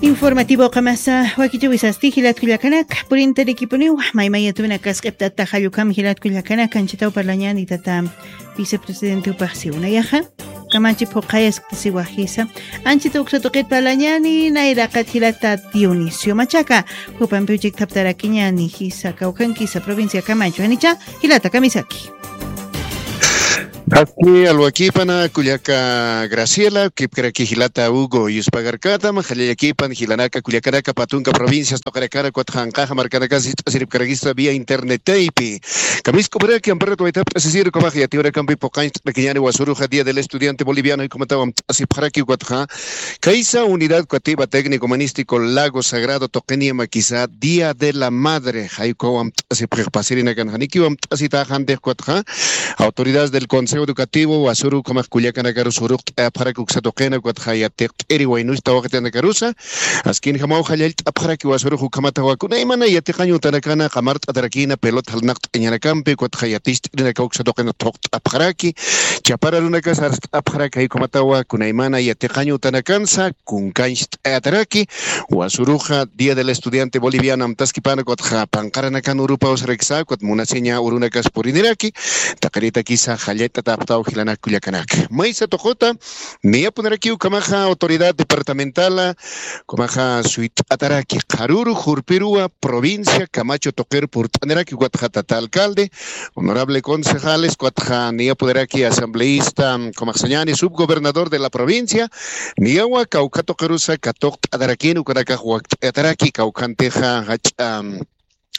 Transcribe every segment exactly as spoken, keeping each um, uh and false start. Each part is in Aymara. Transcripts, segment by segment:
Informativo qamasa wakichawisasti jilatkullakanak purintarikipuniw maymayatuna kasq'iptata jallukam jilatkullakanak anchitaw parlañani tata vicepresidente upaxsiw nayaxa kamachi phuqayaskta siwa jisa anchita uksa tuqit parlañani nayraqat jilata Dionisio Machaca jupampi uchiktaptarakiñani jisa kawkankisa provincia kamachu janicha jilata kamisaki. Aski alwakipana kullaka Graciela kipkaraki jilata Hugo yuspagarkatam jallallakipan jilanaka kullakanaka patunka provincias toqarakana kuatqanqaxa markanakas ist'asiripkarakista via internet taypi. Kamisk'uparaki amparat waytapt'asisir ukapax yatiwarakampi puqancht'arakiñani wasuruxa día del estudiante boliviano jaykumataw amt'asipxaraki ukatxa kaysa unidad katiba técnico humanístico Lago Sagrado tuqiniyamakisa día de la madre jaykuaw amt'asipxix pasirinakan janikiw amt'asitaxantix ukatxa autoridades del consejo educativo wasuru ukhamax kullakanakarus uruqt'ayapxarak uksa tuqina ukatxa yatiqt'iri waynusta waqtanakarusa askinjamaw jallallt'apxaraki wasurux ukhamata wakunaymana yatiqañ utanakana qamart'atarakina pelota jalnaqt'añanakampi ukatxa yaticht'irinakaw uksa tuqina thuqt'apxaraki chapara runakas arst'apxaraki jaykhumatawa kunaymana yatiqañ utanakansa kunkancht'ayataraki wasuruxa día del estudiante boliviano amtaskipana ukatxa panqaranakan urupaw sarakisa ukat munasiña urunakas puriniraki taqiritakisa jallat'atapxtaw jilanak kullakanaka maysa tuquta niyapunarakiw ukhamaxa autoridad departamentala ukhamaxa suyt'ataraki qharuru jurpiruwa provincia kamachu tuqir purt'aniraki ukatxa tata alcalde honorable concejales ukatxa niyapunaraki asambleísta ukhamaxsañani subgobernador de la provincia niyawa kawkha tuqirusa katuqt'atarakini ukanakax wakt'ayataraki kawkhantixa jach'a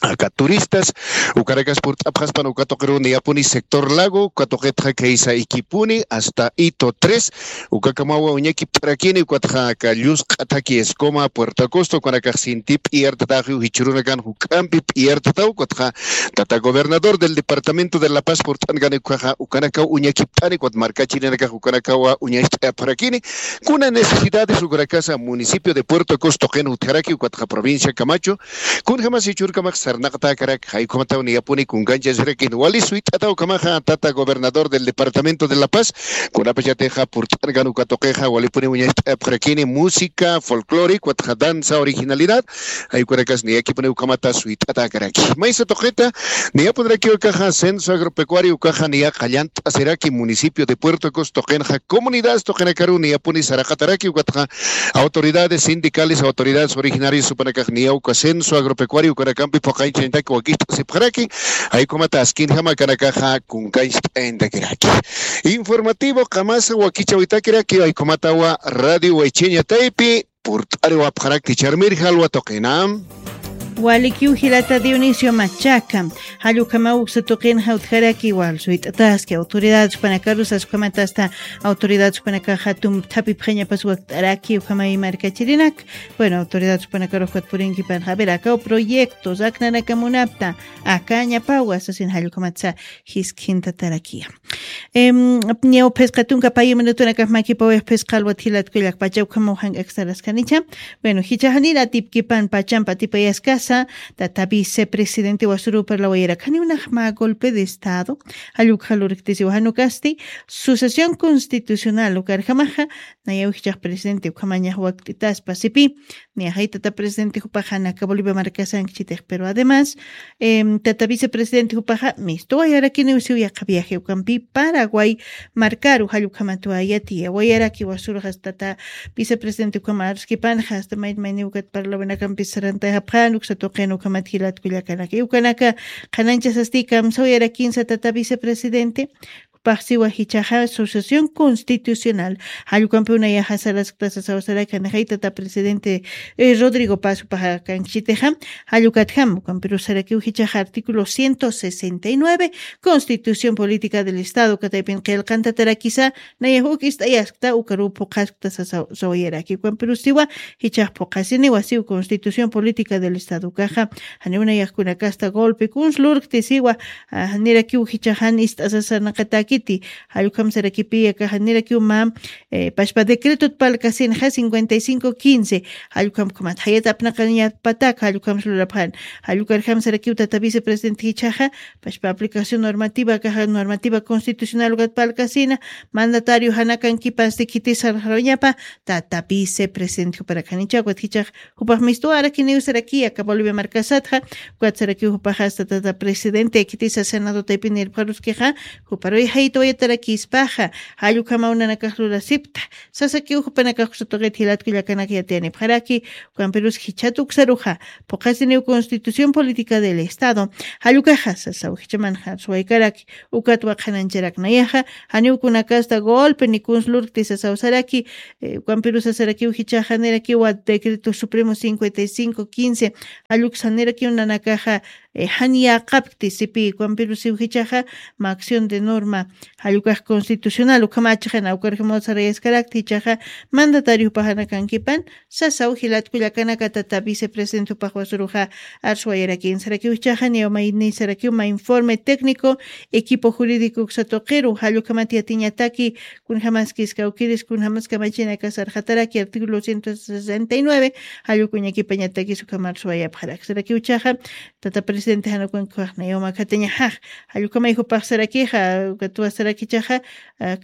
aka turistas ukanakas purt'apxaspan uka tuqiru niyapuni sector lago uka tuqitxa kaysa ikipuni hasta hito tres ukakamawa uñakipt'arakini ukatxa aka llusq'athaki escoma puerto acosta ukanakax sinti p'iyartataxiw jichhurunakan juk'ampi p'iyartataw ukatxa tata gobernador del departamento de la paz purt'ankani ukaxa ukanakaw uñakipt'ani ukat markachirinakax ukanakawa uñacht'ayapxarakini kuna necesidades ukanakasa municipio de puerto acosta tuqin utjaraki ukatxa provincia camacho kunjamasi churkamax sarnaqtakarak jaykhumataw niyapuni kunkanchasirakin wali suyt'ataw ukhamaxa tata gobernador del departamento de la paz kunapachatixa purt'ankan uka tuqixa walipuni uñacht'ayapxarakini música folclore ukatxa danza originalidad jaykunakas niyakipuni ukhamata suyt'atakaraki maysa tuqita niyapunirakiw ukaxa censo agropecuario ukaxa niya qallant'asiraki municipio de puerto acosta tuqinxa comunidades tuqinakaru niyapuni saraqataraki ukatxa autoridades sindicales autoridades originarias jupanakax niyaw uka censo agropecuario ukanakampi phuqañchañataki wakicht'asipxaraki jaykhumata askinjama kanakaxa kunkancht'ayantakiraki informativo qamasa wakichawitakiraki jaykhumatawa radio waychiña taypi purt'ariwapxarakti charmirja alwa tuqina. Walikiw jilata Dionisio Machaca jallukamaw uksa tuqinxa utjaraki wal suyt'ataski autoridades jupanakarusa ukhamatasta autoridades jupanakaxa tumthapipxañapas wakt'araki ukhamay markachirinak bueno autoridades jupanakarux ukat purinkipanxa a ver akaw proyectos aknanakamunapta akañapawa sasin jallukhamatsa jiskintatarakiya. Ñaw phisqa tunka payu minutunakax makipawix phisqa alwat jilatkullak pacha ukhamaw jank'aksaraskhanicha. Bueno jichaxanir atipkipan pachampa atipayaskasa tata vicepresidente wasuru parlawayarak janiw nax mä golpe de estado jallukxa lurktisiwa janukasti sucesión constitucional ukarjamaxa nayaw jichax presidente ukhamañax wakt'itaspa sipi. Niya jay tata presidente jupaxa naka bolivia markasankchitix pero además tata vicepresidente jupaxa mistuwayarakiniw siw yaqha viaje ukampi paraguay markaru jallukhamatwa yatiya wayaraki wasurxas tata vicepresidente ukhama aruskipanxa hasta mayni mayniw ukat parlawinakampis sarantayxapxan uksa tuqin ukhamat jilatkullakanaka iwkanaka qhananchasasti kamsawayarakinsa tata vicepresidente paxsiwa jichaxa asociación constitucional jallkampiw nayaxa sarasktasa sawasaraka nixay tata presidente rodrigo paso paxa kanksitixa jallkatjam ukampirusarakiw jichaxa artículo ciento sesenta y nueve constitución política del estado kataypin qillqantatarakisa nayax uk ist'ayaskta ukaruw phuqhaskta sawayaraki ukampirusiwa jichax phuqhasiniwa siw constitución política del estado ukaxa janiw nayaxkunakasta golpe kuns lurktisiwa nirakiw jichaxan ist'asasarnaqataki Jallukham sarakipi akaxa nirakiw mä pashpa decretot parlkasinxa cincuenta y cinco quince. Jallukham ukhamat jayat apnaqañapatak jallukham lurapxan. Jallukarjam sarakiw tata vicepresidente jichhaxa pashpa aplicación normativa akaxa normativa constitucional ukat parlkasina, mandatario janakankipansti khitisarxaruñapa tata vicepresidente juparakanichakwat jichhax jupax mistuwarakiniw saraki aka bolivia markasatxa. Ukat sarakiw jupaxasta tata presidente khitisa senado taypinirpxaruskixa juparuy jaytawayatarakispaxa. Jallukamaw nanakax lurasipta sasakiw jupanakax kusatuqit jilatkullakanaka yatiyanipxaraki. Ukampirus jichhat uksaruxa phuqasiniw constitución política del estado. Jallukaxa sasaw jichamanxa suwaykaraki. Ukat waqhanancharaknayaxa janiw kunakasta golpe ni kunslurkti sasaw saraki. Ukampirus sarakiw jichaxa nirakiwa decreto supremo cincuenta y cinco quince. Jalluksa nirakiw nanakaxa jan yäqapkti sipi ukampirusiw jichaxa mä acción de norma jallukax constitucional ukhamachaxa nawkarjamaw sarayaskarakti jichaxa mandatario jupaxanakankipan. Sasaw jilatkullakanaka tata vicepresidente jupaxwasuruxa arswayarakin sarakiw jichaxa niwmayni sarakiw mä informe técnico equipo jurídico uksatuqiru jallukhamat yatiñataki. Kunjamaskiskawkiris kunjamas kamachinakasarxataraki artículo ciento sesenta y nueve. Jallukuñakipañatakis ukhamarswayapxarak sarakiw jichaxa tata presidente janukunkixaxnayaw makatañaxax. Jallukhamay jupaxsarakixa ukatwasarakichaxa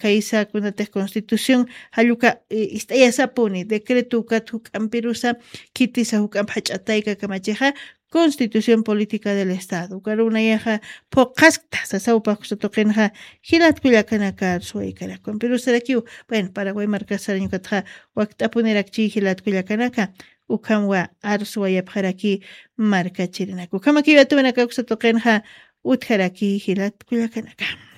kaysa kunatix constitución jalluka ist'ayasapuni decreto ukat juk'ampirusa khitisa juk'amp jach'atayka kamachixa constitución política del estado ukarunayaxa phuqhaskta sasawpaxkusatuqinxa. Jilatkullakanakar suwaykarakumpirusarakiw bueno paraguay markasarañukatxa wakt'apunirakchi jilatkullakanaka. Ukhamwa arsuwayapxaraki markachirinaka ukhamakiw atuwanakakusatuqinxa utjaraki jilatkullakanaka.